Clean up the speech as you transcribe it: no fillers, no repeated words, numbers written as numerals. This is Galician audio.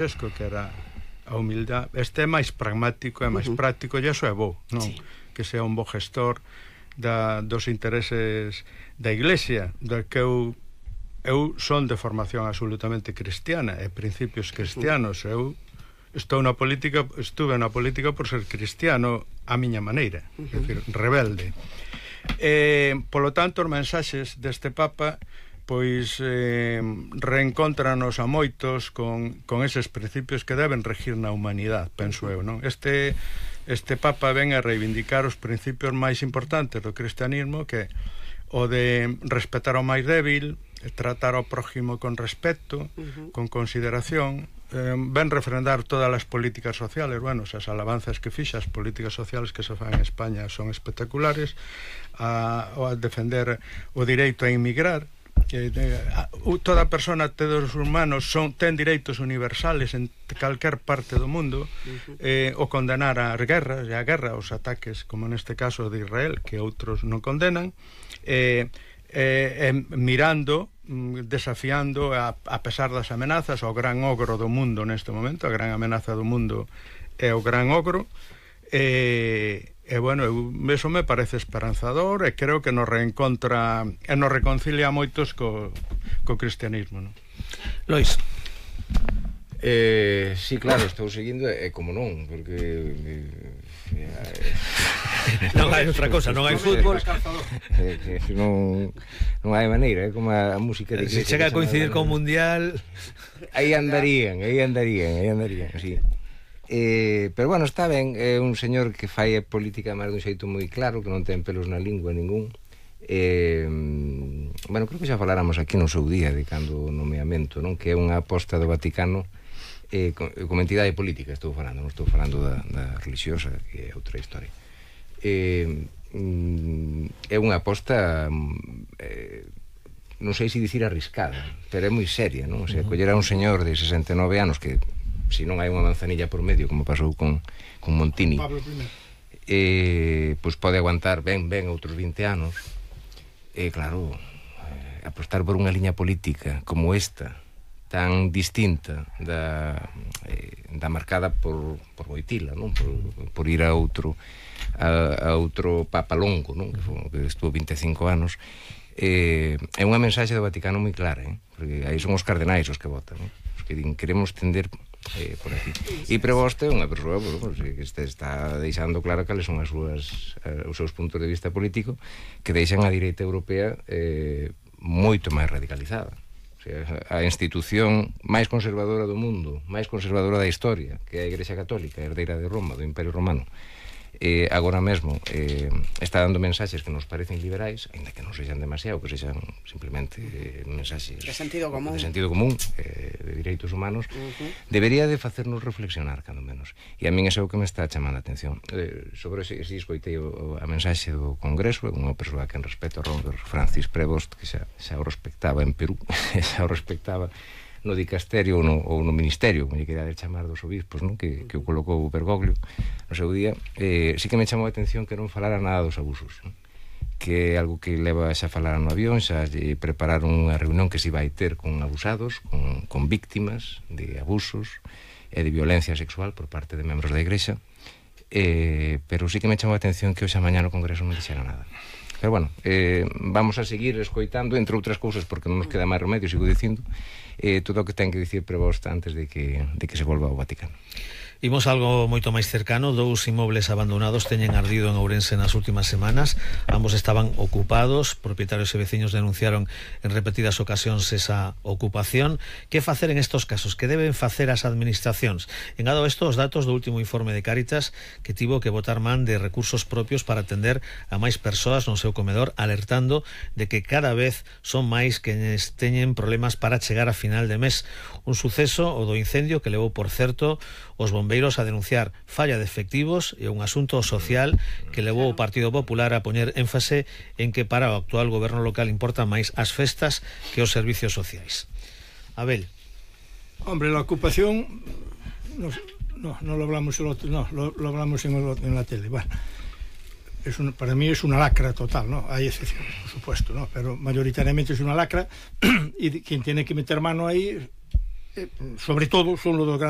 Francesco, que era a humildade. Este é máis pragmático, é máis práctico, e iso é bo, non? Sí. Que sea un bo gestor dos intereses da Iglesia, do que eu son de formación absolutamente cristiana e principios cristianos. Eu estuve na política por ser cristiano a miña maneira, é dicir, rebelde. Polo tanto, os mensaxes deste Papa pois reencóntranos a moitos con eses principios que deben regir na humanidade, penso eu, non? Este Papa ven a reivindicar os principios máis importantes do cristianismo, que o de respetar ao máis débil, tratar ao prójimo con respeto, con consideración, ven refrendar todas as políticas sociales. Bueno, as alabanzas que fixa, as políticas sociales que se fan en España son espectaculares, a defender o direito a inmigrar, que toda persona, todos os humanos ten direitos universales en calquer parte do mundo, o condenar as guerras e a guerra, os ataques, como neste caso de Israel, que outros non condenan, mirando, desafiando a pesar das amenazas ao gran ogro do mundo neste momento. A gran amenaza do mundo é o gran ogro, bueno, eso me parece esperanzador, e creo que nos reencontra e nos reconcilia moitos co cristianismo, non? Lois. Sí, claro, estou seguindo, e como non, porque non hai outra cosa, non hai fútbol, non hai maneira, é como a música de se chega a coincidir con o Mundial, aí andarían, sí. Pero bueno, está ben, é un señor que fai política máis dun xeito moi claro, que non ten pelos na lingua ningún. Bueno, creo que xa faláramos aquí no seu día de cando o nomeamento, non? Que é unha aposta do Vaticano como entidade política, estou falando, non estou falando da religiosa, que é outra historia. É unha aposta, non sei se dicir arriscada, pero é moi seria, non? O sea, coller a un señor de 69 anos que, se non hai unha manzanilla por medio, como pasou con Montini, pois pode aguantar ben outros 20 anos. Claro, apostar por unha liña política como esta, tan distinta da marcada por Wojtyla, non? Por ir a outro Papa Longo, non? Que estuvo 25 anos. É unha mensaxe do Vaticano moi clara, porque aí son os cardenais os que votan, non? Os que din, queremos tender por aquí. E Prevost é unha persoa que está deixando claro cales son os seus puntos de vista político, que deixan a direita europea moito máis radicalizada. O sea, a institución máis conservadora do mundo, máis conservadora da historia, que é a Igrexa Católica, herdeira de Roma, do Imperio Romano, agora mesmo está dando mensaxes que nos parecen liberais, ainda que non sexan demasiado, que sexan simplemente mensaxes de sentido común, de direitos humanos. Debería de facernos reflexionar, cando menos. E a min é o que me está chamando a atención. Sobre ese escoitei a mensaxe do Congreso, unha persoa que en respeto a Robert Francis Prevost, que xa o respectaba en Perú, xa o respectaba no dicasterio ou no ministerio, como lle quería chamar, dos obispos, non? Que o colocou Bergoglio no seu día. Sí que me chamou a atención que non falara nada dos abusos, non? Que é algo que leva xa a falar no avión, xa prepararon unha reunión que se vai ter con abusados, con víctimas de abusos e de violencia sexual por parte de membros da Igrexa, pero sí que me chamou a atención que hoxe a mañá no Congreso non dixera nada. Pero bueno, vamos a seguir escoitando, entre outras cousas, porque non nos queda máis remedio, sigo dicindo, todo o que ten que dicir Prevost antes de que se volva ao Vaticano. Imos algo moito máis cercano. 2 inmobles abandonados teñen ardido en Ourense nas últimas semanas. Ambos estaban ocupados. Propietarios e veciños denunciaron en repetidas ocasións esa ocupación. Que facer en estos casos? Que deben facer as administracións? Engado isto os datos do último informe de Cáritas, que tivo que botar man de recursos propios para atender a máis persoas no seu comedor, alertando de que cada vez son máis quenes teñen problemas para chegar a final de mes. Un suceso, o do incendio, que levou, por certo, os bombeiros a denunciar falla de efectivos, e un asunto social que levou o Partido Popular a poñer énfase en que para o actual goberno local importan máis as festas que os servicios sociais. Abel. Hombre, la ocupación no lo hablamos lo hablamos en la tele. Bueno, para mí es una lacra total, ¿no? Hay excepciones, por supuesto, ¿no? Pero mayoritariamente es una lacra y quien tiene que meter mano ahí, sobre todo, son los dos grandes